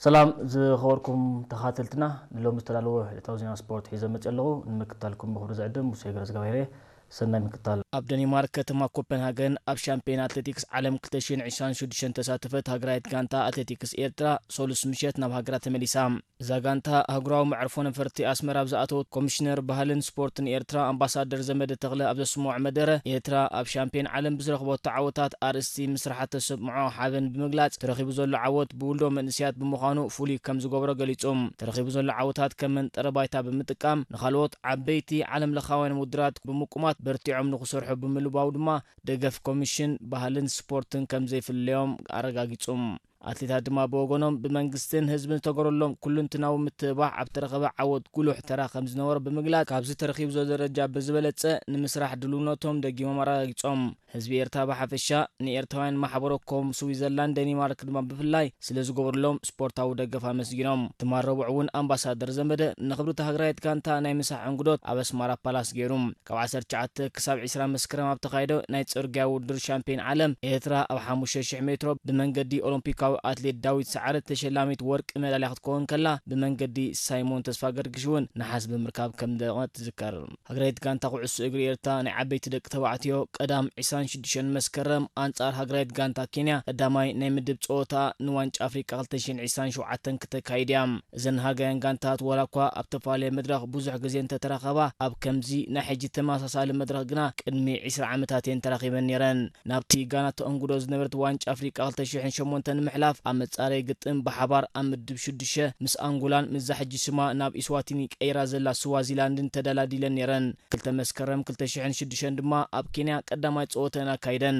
ሰላም ዝኸበርኩም ተኻተልትና፣ ንሎሚ ዝተዳለወ ዕለታዊ ዜና ስፖርት ሒዘ መፅእ ኣለኹ። ንምክታልኩም ብኽብሪ ዝዕድም ሙሴ ገረዝጋብሄር እየ። ሰናይ ምክታል። ኣብ ደኒማርክ ከተማ ኮፐንሃገን ኣብ ሻምፒዮን ኣትሌቲክስ ዓለም ክልተ ሽሕን ዕስራን ሽዱሽተን ተሳተፈት ሃገራዊት ጋንታ ኣትሌቲክስ ኤርትራ ሰሉስ ምሸት ናብ ሃገራ ተመሊሳ። እዛ ጋንታ ኣህጉራዊ መዕርፎ ነፈርቲ ኣስመራ ኣብ ዝኣተወት ኮሚሽነር ባህልን ስፖርትን ኤርትራ ኣምባሳደር ዘመደ ተኽለ ኣብ ዘስምዖ መደረ፣ ኤርትራ ኣብ ሻምፒዮን ዓለም ብዝረኽበቶ ዓወታት ኣርእስቲ ምስራሓ ተሰምዖ ሓበን ብምግላጽ፣ ተረኺቡ ዘሎ ዓወት ብውልዶ መንእስያት ብምዃኑ ፍሉይ ከም ዝገብሮ ገሊጹ። ተረኺቡ ዘሎ ዓወታት ከም መንጠረ ባይታ ብምጥቃም ንኻልኦት ዓበይቲ ዓለም ለኻውያን ውድድራት ብምቁማት በርቲዖም ንኽሰርሑ ብምልባው ድማ ደገፍ ኮሚሽን ባህልን ስፖርትን ከም ዘይፍለዮም ኣረጋጊጹ። ኣትሌታት ድማ ብወገኖም ብመንግስትን ህዝብን ዝተገበረሎም ኩሉንትናዊ ምትብባዕ ኣብ ተረኸበ ዓወት ጉሉሕ ተራ ከም ዝነበሮ ብምግላጽ፣ ካብዚ ተረኺቡ ዘሎ ደረጃ ብዝበለጸ ንምስራሕ ድልውነቶም ደጊሞም ኣረጋጊጾም። ህዝቢ ኤርትራ ብሓፈሻ፣ ንኤርትራውያን ማሕበረኮም ስዊዘርላንድ፣ ደኒማርክ ድማ ብፍላይ ስለ ዝገበሩሎም ስፖርታዊ ደገፍ ኣመስጊኖም። ትማል ረቡዕ እውን ኣምባሳደር ዘመደ ንኽብርቲ ሃገራዊት ጋንታ ናይ ምሳሕ እንግዶት ኣብ ኣስማራ ፓላስ ገይሩ። ካብ ዓሰርተ ትሽዓተ ክሳብ ዕስራ መስከረም ኣብ ተኻየደ ናይ ጽርግያ ውድድር ሻምፒዮን ዓለም፣ ኤርትራ ኣብ ሓሙሽተ ሽሕ ሜትሮ ብመንገዲ ኦሎምፒካዊ ኣትሌት ዳዊት ሰዓረ ተሸላሚት ወርቂ ሜዳልያ ክትከውን ከላ፣ ብመንገዲ ሳይሞን ተስፋገርግሽ እውን ነሓስ ብምርካብ ከም ደመቐት ትዝከር። ሃገራዊት ጋንታ ኩዕሶ እግሪ ኤርትራ ናይ ዓበይቲ ደቂ ተባዕትዮ ቀዳም ዕስራን ሽዱሽተን መስከረም ኣንጻር ሃገራዊት ጋንታ ኬንያ ቀዳማይ ናይ ምድብ ጸወታ ንዋንጫ ኣፍሪቃ ክልተ ሽሕን ዕስራን ሸውዓተን ክተካይድ እያ። እዘን ሃገራውያን ጋንታት ዋላ እኳ ኣብ ተፈላለየ መድረኽ ብዙሕ ግዜ እንተተራኸባ፣ ኣብ ከምዚ ናይ ሕጂ ተመሳሳሊ መድረኽ ግና ቅድሚ ዕስራ ዓመታት እየን ተራኺበን ነይረን። ናብቲ ጋና ተእንግዶ ዝነበረት ዋንጫ ኣፍሪቃ ክልተ ሽሕን ሸሞንተን ንምሕላፍ ኣብ መጻረይ ግጥም ብሓባር ኣብ ምድብ ሽዱሽተ ምስ ኣንጎላን ምስዛ ሕጂ ስማ ናብ ኢስዋቲኒ ቀይራ ዘላ ስዋዚላንድን ተደላዲለን ነይረን። ክልተ መስከረም ክልተ ሽሕን ሽዱሽተን ድማ ኣብ ኬንያ ቀዳማይ ጸወተን ኣካይደን።